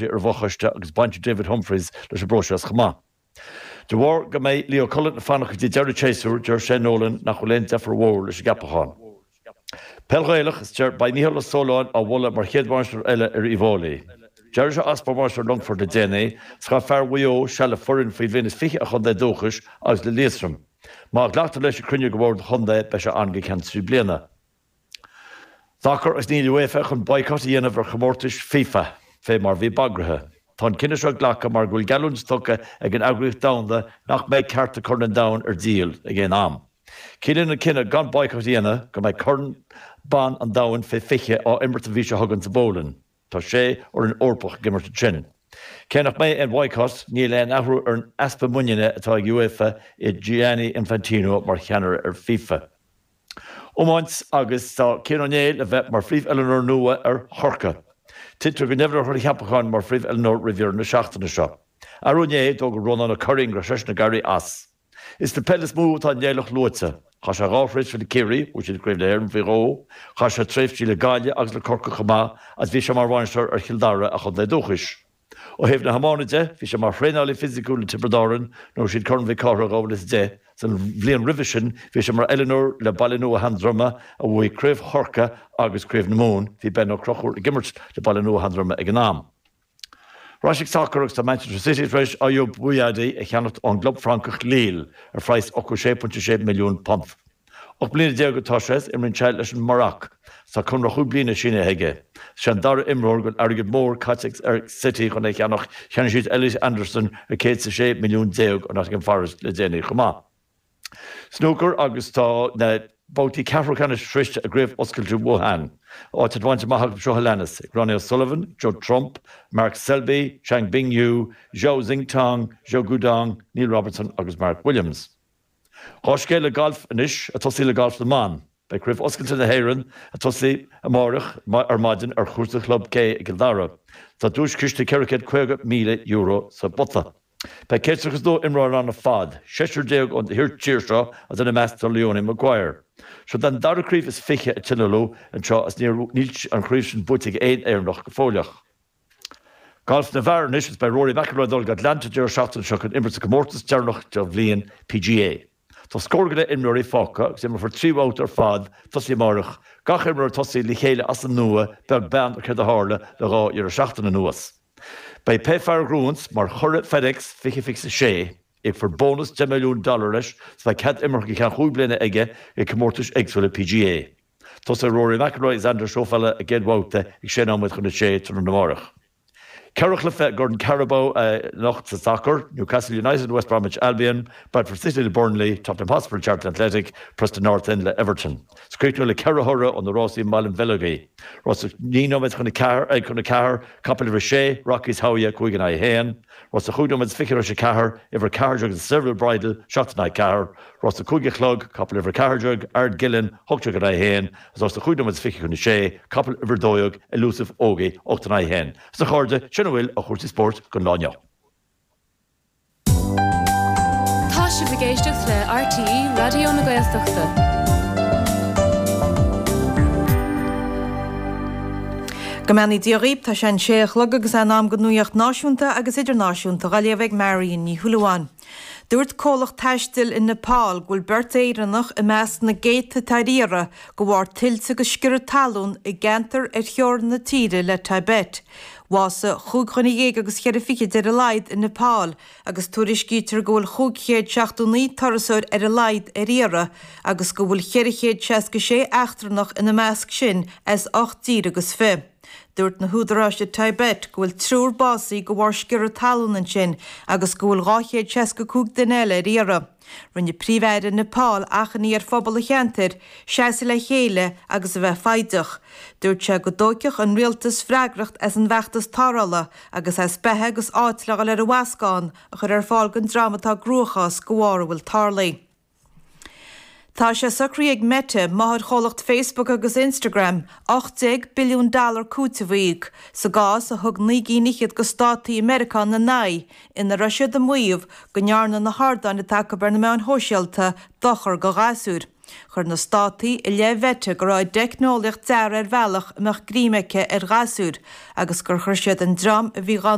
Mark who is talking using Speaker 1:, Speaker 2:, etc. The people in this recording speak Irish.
Speaker 1: Ar an bhfochoiste agus baint ag David Humphreys leis an bpróiseas chomh maith. De bharr go mbeidh Leo Cullen ag fanacht go dtí deireadh an tséasúir, deir Shane Nolan nach bhfuil aon deifir mhór leis an gceapachán. Peil Ghaelach, is deir beidh Mícheál Ó Súilleabháin á mholadh mar chéad bhainisteoir eile ar Uíbh Fhailí. D'éirigh sé as mar bhainisteoir Longfoirt le déanaí, is chaith fear Mhaigh Eo seal le foireann faoi bhliain is 20 a chontae dúchais agus le Liatroim. Má ghlactar leis ag cruinniú de bhord an chontae, beidh sé ann go ceann 3 bliana. Sacar agus níl UEFA chun boycott a dhéanamh ar chomórtais FIFA, fé mar bhí bagraithe. Tá an cinneadh seo glactha mar go bhfuil geallúint tugtha ag an eagraíocht domhanda nach mbeidh cearta Corn an Domhain ar díol ag aon am. Ciallaíonn an cinneadh gan boycott a dhéanamh go mbeidh Corn Ban an Domhain fé 20 á imirt an mhí seo chugainn sa bPólainn. Tá sé fhoireann Eorpach ag imirt ansin. Cé nach mbeidh aon bhoycott, níl aon athrú ar an easpa muiníne atá ag UEFA i Gianni Infantino mar cheannaire ar FIFA. Iomáint agus tá Cian Ó Néill le bheith mar phríomh-oiliúnóir nua ar Chorcaigh. Tuigtear go ndeimhneofar a cheapachán mar phríomh-oiliúnóir roimh dheireadh na seachtaine seo. Arú inné, d'fhógair Rónán Ó Curraoin go raibh seisean ag éirí as. Is le peil is mó atá an Néilleach luaite. Chaith sé dhá thréimhse le Ciarraí, bhuaigh siad Craobh na hÉireann faoi dhó, chaith sé tréimhsí le Gaillimh agus le Corcaigh chomh maith agus bhí sé mar bhainisteoir ar Chill Dara, a chontae dúchais. Ó thaobh na hiomána de, bhí sé mar thraenálaí fisiciúil le Tiobraid Árann nuair a bhuaigh siad Corn Mhic Cárthaigh i 2010. San bhliain roimhe sin, bhí sé mar oiliúnóir le Baile Nua Sheandroma a bhuaigh Craobh Chorcaí agus Craobh na Mumhan. Bhí Ben Ó Conchúir ag imirt le Baile Nua Sheandroma ag an am. Ar ais ag sacar agus tá Manchester City tar éis Ayyoub Bouaddi a cheannacht ón gclub Francach Lille ar phraghas £86.6 milliún. 18 mbliana atá sé is imríonn sé leis an Maroc. Tá conradh chúig bliana sínithe aige. Is é an dara imreoir go bhfuil airgead mór caite ag City chun é a cheannach, cheannaigh siad Elliot Anderson ar 106 milliún ó Nottingham Forest le déanaí chomh maith. Snúcar agus tá na babhtaí ceathrú ceannais sroichte i gCraobh Oscailte Wuhan. Áit bainte amach acu seo a leanas, ag Ronnie O'Sullivan, Judd Trump, Mark Selby, Chang Bingyu, Zhao Xintong, Zhou Guodong, Neil Robertson agus Mark Williams. Dhá scéal gailf anois, ag tosaí le galf na mban. Beidh Craobh Oscailte na hÉireann ag tosaí amáireach ar maidin ar chúrsa Chlub K i gCill Dara. Tá duaischiste €450,000 sa bpota. Beidh 132 imreoir ann ar fad, seisear déag ón tír seo agus ina measc tá Leonie Maguire. Seo an dara craobh is fiche a tionóladh anseo agus níl an chraobh sin buaite ag aon Éireannach go fóilleach. Galf na bhfear anois is beidh Rory McIlroy ag dul go Atlanta an deireadh seachtaine seo chun imirt sa gcomórtas deireanach den bhliain, PGA. Tá scór go leith imreoirí fágtha agus imreofar 3 bhabhta ar fad ag tosaí amáireach, gach imreoir ag tosaí le chéile as an nua beag beann ar céard a tharla le dhá dheireadh seachtaine anuas. Beidh pé fear a ghnóthaíonns mar churadh FedEx 2026, íocfar bónas $10 milliún leis is beidh cead imeartha go ceann chúig bliana aige ag comórtais éagsúla PGA. Tosóidh Rory McIlroy agus Xander Schauffele a gcéad bhabhta ag sé nóiméad chun a sé tráthnóna amárach. Ceithre chluiche i gCorn Carabao anocht sa sacar, Newcastle United, West Bromwich Albion, Bradford City le Burnley, Tottenham Hotspur le Charlton Athletic, Preston North End le Everton. Is críochnóidh le ceithre thoradh ó na rásaí i mBaile an Bheilgigh. Rás 9 nóiméad chun 4, chun 4, capall uimhir 6, Rockies Howya, 5 in aghaidh 1. Rás a 5 nóiméad is fiche tar éis a 4, uimhir 14 The Seville Bridle, 7 in aghaidh 4. Rás a 5 a chlog, capall uimhir 14, Ardgillan, 18 in aghaidh 1, agus rás a 5 nóiméad is fiche chun a 6, capall uimhir 12, Elusive Ógie, 8 in aghaidh 1. Is a chairde, sin a bhfuil ó chúrsaí spóirt don lá inniu.
Speaker 2: Tá sibh ag éisteacht le RTÉ Raidió na Gaeltachta.
Speaker 3: Go mbeannaí Dia dhaoibh, tá sé an sé a chlog agus é in am don nuaíocht náisiúnta agus idirnáisiúnta dhá léamh ag Marion Ní Shúilleabháin. Dúirt comhlacht taistil i Nepal go bhfuil beirt Éireannach i measc na gcéadta atá ar iarraidh de bharr tuilte agus sciorradh talún i gceantar ar theorainn na tíre le Tibet. Bhásaigh chúig dhuine dhéag agus cheithre fichid ar a laghad i Nepal agus tuairiscítear go bhfuil 579 turasóir ar a laghad ar iarraidh agus go bhfuil 466 eachtrannach ina measc sin as ocht dtír agus fi. Dúirt na húdaráis i Tibet go bhfuil triúr básaithe de bharr sciorradh talún ansin agus go bhfuil 265 duine eile ar iarraidh. Rinne Príomh-Aire Nepal achainí ar phobal an cheantair seasamh le chéile agus a bheith foighdeach. Dúirt sé go dtógfadh an rialtas freagracht as an bhfeachtas tarrthála agus as beatha agus áit le dhul ar an bhascán a chur ar fáil don dream atá i gcruachás de bharr a bhfuil tarlaithe. Tá sé socraithe ag Meta, máthairchomhlacht Facebook agus Instagram, 18 billiún dollar cúiteamh a íoc sa gcás a thug naoi gcinn fhichead de státaí i Meiriceá ina n-aghaidh, ina raibh siad ag maíomh go ndearna na hardáin atá acu ar na meáin shóisialta dochar do ghasúir. Chuir na Státaí i leith Mheta go raibh a dteicneolaíocht deartha ar bhealach a mbeadh greim aici ar ghasúir agus gur chuir siad an dream a bhí dhá.